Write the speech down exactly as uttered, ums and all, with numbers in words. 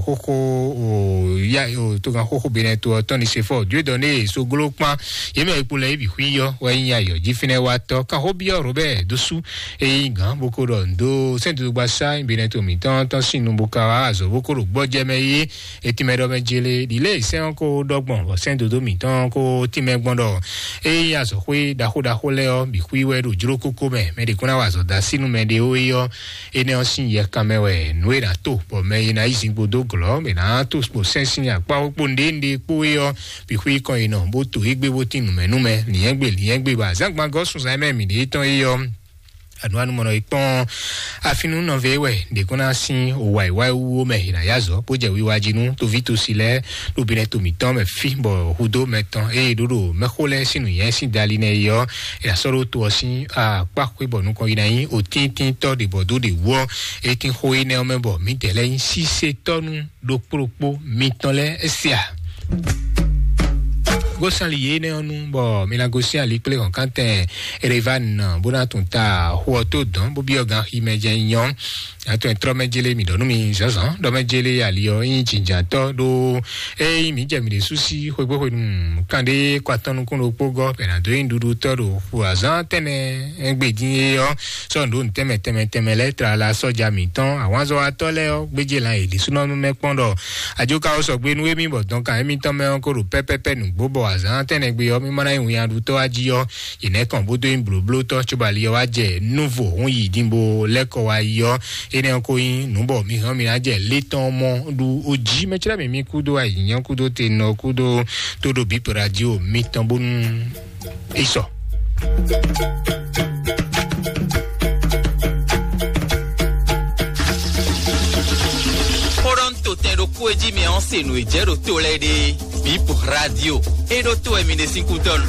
Xóxó o ya o tógan xóxó benɛ to ɔtɔn ni se fɔ dieu dɔn ne soglo kpan yémɛ ekpo lɛ ibi xui yɔ wɛ nyi ayɔ jí fínɛ wa tɔ kan xó biɔ robert dosu eyi gan boko ɖɔ ndo sɛn dodo gba sa benɛ to mǐtɔn tɔn sín nu boka wa azɔ boko ɖo gbɔjɛ mɛ yé etimɛ ɖɔ mɛ jele ɖile sɛn ko ɖɔ gbɔn bɔ sɛn dodo mǐtɔn ko timɛ gbɔn ɖɔ eyi azɔ xwé ɖaxó ɖaxó lɛ ɔ bi xui wɛ ɖo jlo kókó mɛ mɛ ɖe kó ná wa azɔ da sínú mɛ ɖe ó yɔ Énɛ́ ɔ́ sín yɛkan mɛ wɛ nǔ e ná to bɔ mɛ e ná yi zingbo dó glɔ̌ mɛ ná to kpo sɛ́n sín akpá kpó nɖénɖé kpó é ɔ́, bǐ xwí kɔn yi nɔ bó to égbé bó tín nǔmɛnúmɛ lǐnyɛ́gbe lǐnyɛ́gbe bɔ azǎngban gɔ́ sunzan mɛ mǐ ɖe tɔn é ɔ́. Ànúwánúmɔnɔ yi kpɔ́n afínú nɔvɛ wɛ ɖě kó ná sín wǎiwáiwúwo mɛ è nǎ yá zɔ bó jɛ wiwa jí nú toví tosi lɛ́ɛ ɖo binɛ to mǐtɔn mɛ fí bɔ hudó mɛ tɔn eye ɖó ɖo mɛxó lɛ́ɛ sín nǔnyɛ sín dali nɛ yi ɔ́, è nǎ sɔ́ ɖó to ɔ́ sín akpá xwé bɔ nukɔn yi ná nyí otíntínntɔ́ ɖě bɔ dó ɖě wú ɔ́, é tín xó énɛ́ ɔ́ mɛ bɔ mǐdɛɛ lɛ́ɛ nyí sísetɔ́nú ɖokpó ɖokpó mitɔn lɛ́ɛ é se a. Gósánli yě énɛ́ ɔ́ nu bɔ mi ná gosín ali kplé hɔ̌nkántɛn Erevani bó ná tún ta xó ɔ́ tó dɔn bó byɔ́ gan xi mɛ jɛ nyɔ. Atɔn trɔ mɛ jele mi ɖɔ nú mi zɔzɔ ɖɔ mɛ jele ali ɔ nyi jinjantɔ ɖo eyi mi jɛ mi ɖe susi xwegbe xwenu kan ɖe kɔ atɔn nukun ɖokpó gɔ bɛ na do nyi ɖuɖu tɔ ɖo xu azan tɛnɛ egbe din ye ɔ sɔ ndo ntɛmɛ tɛmɛ tɛmɛ lɛ tra la sɔja mi tɔn awazɔ atɔ lɛ ɔ gbedze lan yi ɖisunɔ mɛ kpɔn ɖɔ ajoka wɔ sɔgbe nu emi bɔ dɔn kan emi tɔn mɛ ɔ ko ɖo pɛpɛpɛ nugbo bɔ azan tɛnɛ gbe ɔ mi mana yi wunyaɖutɔ aji ɔ yi nɛ kɔn bó do nyi bloblotɔ tso bali ɔ wa jɛ nuvo hun yi din bo lɛ kɔ wa yi ɔ Énɛ́ ɔ́ ko nyí nǔ bɔ mi hɛn mi ná jɛ lé tɔn mɔ ɖu ojí mɛ clɛ́ mǐ mí kúdó ayǐnyán kúdó tenɔ kúdó tóɖo bǐ radio mitɔn bónú é sɔ. Xóɖɔ́ntotɛn ɖokpó e jí mi ɔ́ se nǔ e jɛ ɖo to lɛ́ɛ ɖe bǐ radio é ɖó to wɛ mi ɖe sín kútɔ́ nu.